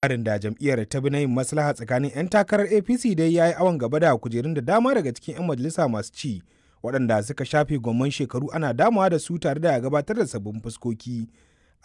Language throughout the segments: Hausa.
Tsarin da jam'iyyar ta bi na yin maslaha tsakanin 'yan takarar APC dai ya yi awon gaba da kujerun da dama daga cikin 'yan majalisa masu ci, waɗanda suka shafe gwamman shekaru ana damawa da su tare da gabatar da sabbin fuskoki.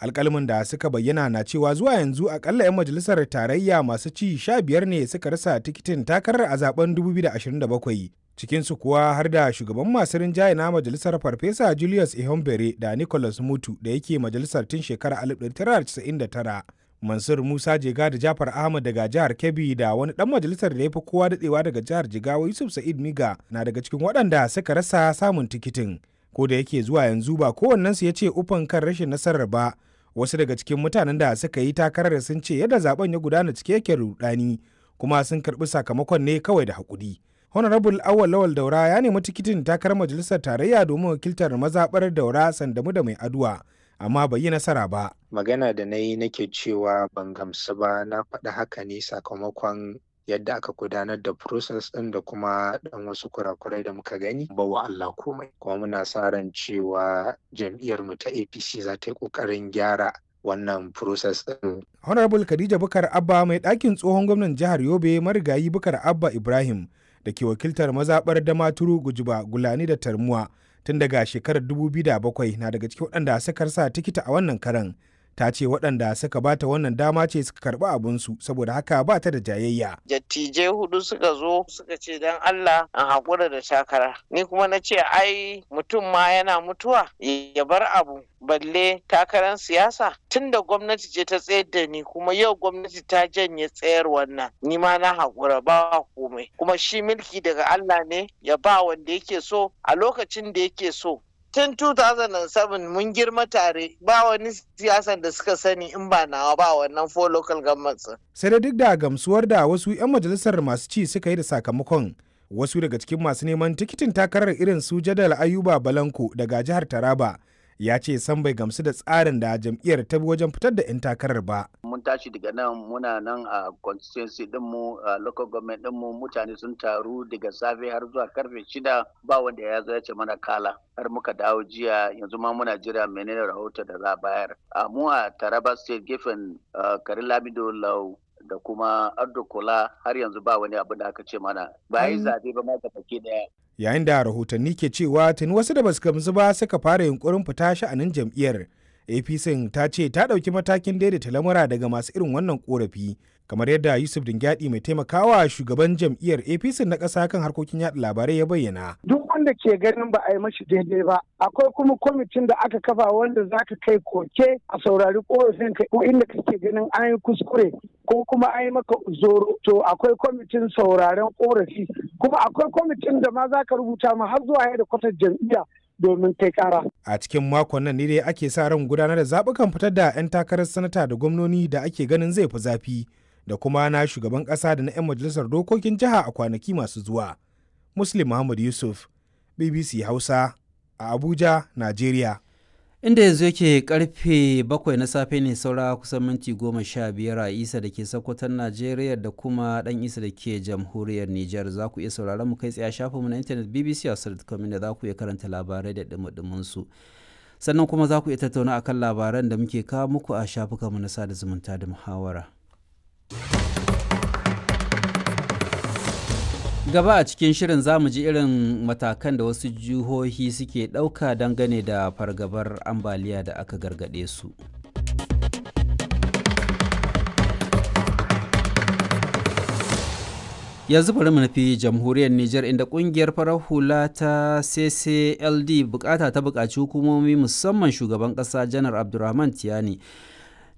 Alƙaluman da suka bayyana na cewa zuwa yanzu akalla 'yan majalisar tarayya masu ci 15 ne suka rasa tikitin takarar a zaben 2027, cikinsu kuwa har da shugaban masu rinjaye na majalisar Farfesa Julius Ihombere da Nicholas Mutu da yake majalisar tun shekarar 1999. Mansur Musa Jega da Jafar Ahmad daga jihar Kebbi da wani dan majalisar da ya fi kowa dadewa daga jihar Jigawa Yusuf Sa'id Miga na daga cikin waɗanda suka rasa samun tikitin. Ko da yake zuwa yanzu ba kowannensu ya ce ufan kan rashin nasarar ba. Wasu daga cikin mutanen da suka yi takarar sun ce yadda zaben ya gudana cike yake rudani kuma sun karɓi sakamakon ne kawai da haƙuri. Honorable Awal Lawal Daura ya nemi tikitin takarar majalisar tarayya domin wakiltar mazaɓar Daura Sandamu da Mai Aduwa. Amma bai yi nasara ba. Magana da na yi nake cewa ban gamsu ba, na faɗi haka ne sakamakon yadda aka gudanar da process ɗin da kuma ɗan wasu kurakurai da muka gani ba wa Allah komai. Kuma muna sa ran cewa jam'iyyar mu ta APC za ta yi ƙoƙarin gyara wannan process ɗin. Honorable Khadija Bukar Abba mai ɗakin tsohon gwamnan jihar Yobe marigayi Bukar Abba Ibrahim da ke wakiltar mazaɓar Damaturu Gujiba Gulani da Tarmuwa tun daga shekarar 2007 na daga cikin waɗanda suka rasa tikita a wannan karan. Ta ce waɗanda suka bata wannan dama ce suka karɓi abinsu, saboda haka ba ta da jayayya. Dattijai hudu suka zo suka ce don Allah an haƙura da takara. Ni kuma na ce ai mutum ma yana mutuwa ya bar abu balle takarar siyasa, tunda gwamnati ce ta tsayar da ni kuma yau gwamnati ta janye tsayar wannan, ni ma na haƙura, ba komai. Kuma shi mulki daga Allah ne, ya ba wanda yake so a lokacin da yake so. Tun 2007 mun girma tare, ba wani siyasan da suka sani in ba nawa ba wannan four local governments. Sai da duk da gamsuwar da wasu 'yan majalisar masu ci suka yi da sakamakon, wasu daga cikin masu neman tikitin takarar irin su Jadal Ayuba Balanko daga jihar Taraba ya ce san bai gamsu da tsarin da jam'iyyar ta bi wajen fitar da 'yan takarar ba. Mun tashi daga nan, muna nan a constituency dinmu, a local government dinmu, mutane sun taru daga safe har zuwa karfe 6, ba wanda ya zo ya ce mana kala. Har muka dawo jiya, yanzu ma muna jira menene rahoto da za a bayar. A mu a Taraba State, gefen Karin Lamido Lau da kuma Ardo Kola, har yanzu ba wani abu da aka ce mana. Ba yi zabe ba ma baki daya. Yayin da rahotanni ke cewa tuni wasu da basu gamsu ba suka fara yunkurin fita sha'anin jam'iyyar, APC ta ce ta ɗauki matakin daidaita lamura daga masu irin wannan korafi, kamar yadda Yusuf Dingyadi, mai taimakawa shugaban jam'iyyar APC na ƙasa kan harkokin yaɗa labarai, ya bayyana. Duk wanda ke ganin ba a yi mashi daidai ba, akwai kuma kwamitin da aka kafa wanda za ka kai koke a saurari korafin ka, ko inda kake ganin an yi kuskure ko kuma an yi maka zoro, to akwai kwamitin sauraren korafi, kuma akwai kwamitin da ma za ka rubuta ma har zuwa yadda kwatar jam'iyya domin kai kara. A cikin makon nan ne dai ake sa ran gudanar da zaɓukan fitar da 'yan takarar sanata da gwamnoni da ake ganin zai fi zafi, da kuma na shugaban ƙasa da na 'yan majalisar dokokin jiha a kwanaki masu zuwa. Muslim Muhammad Yusuf, BBC Hausa, a Abuja, Najeriya. Inda yanzu yake karfe 7 na safe ne saura kusan minti 15 a Isa da ke Sokoton Najeriya da kuma Dan Isa da ke jamhuriyar Nijar. Za ku iya sauraron mu kai tsaye a shafinmu na intanet bbc.com, inda za ku iya karanta labarai da dumudumin su. Sannan kuma za ku iya tattauna akan labaran da muke kawo muku a shafukanmu na sada zumunta da muhawara. Gaba a cikin shirin za mu ji irin matakan da wasu jihohi suke ɗauka dangane da fargabar ambaliya da aka gargaɗe su. Yanzu bari mu nufi jamhuriyar Nijar, inda kungiyar farar hula ta CCLD bukata ta buƙaci hukumomi, musamman shugaban ƙasa Janar Abdulrahman Tiyani,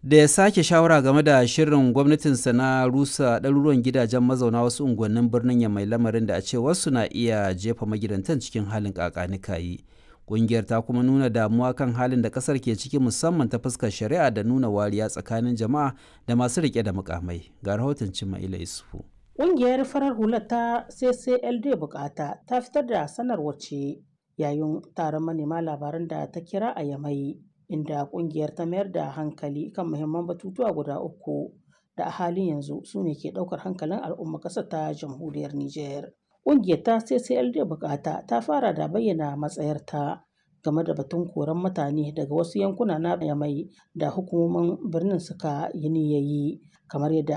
da ya sake shawara game da shirin gwamnatinsa na rusa ɗaruruwan gidajen mazauna wasu unguwannin birnin ya mai lamarin da a ce wasu na iya jefa magidantan cikin halin kakanikayi. Ƙungiyar ta kuma nuna damuwa kan halin da ƙasar ke ciki, musamman ta fuskar shari'a da nuna wariya tsakanin jama'a da masu riƙe da mukamai. Ga rahoton Cima'ila Isufu. Ƙungiyar farar hula ta CCLD Bukata ta fitar da sanarwar ce yayin taron manema labaran da ta kira a Yamai, inda kungiyar ta mayar da hankali kan muhimman batutuwa guda uku da a halin yanzu su ne ke daukar hankalin al'umma ƙasar ta jamhuriyar Nijar. Kungiyar ta CCLD Bukata ta fara da bayyana matsayarta game da batun koran mutane daga wasu yankuna na Yamai da hukumomin birnin suka yi niyyayi kamar yadda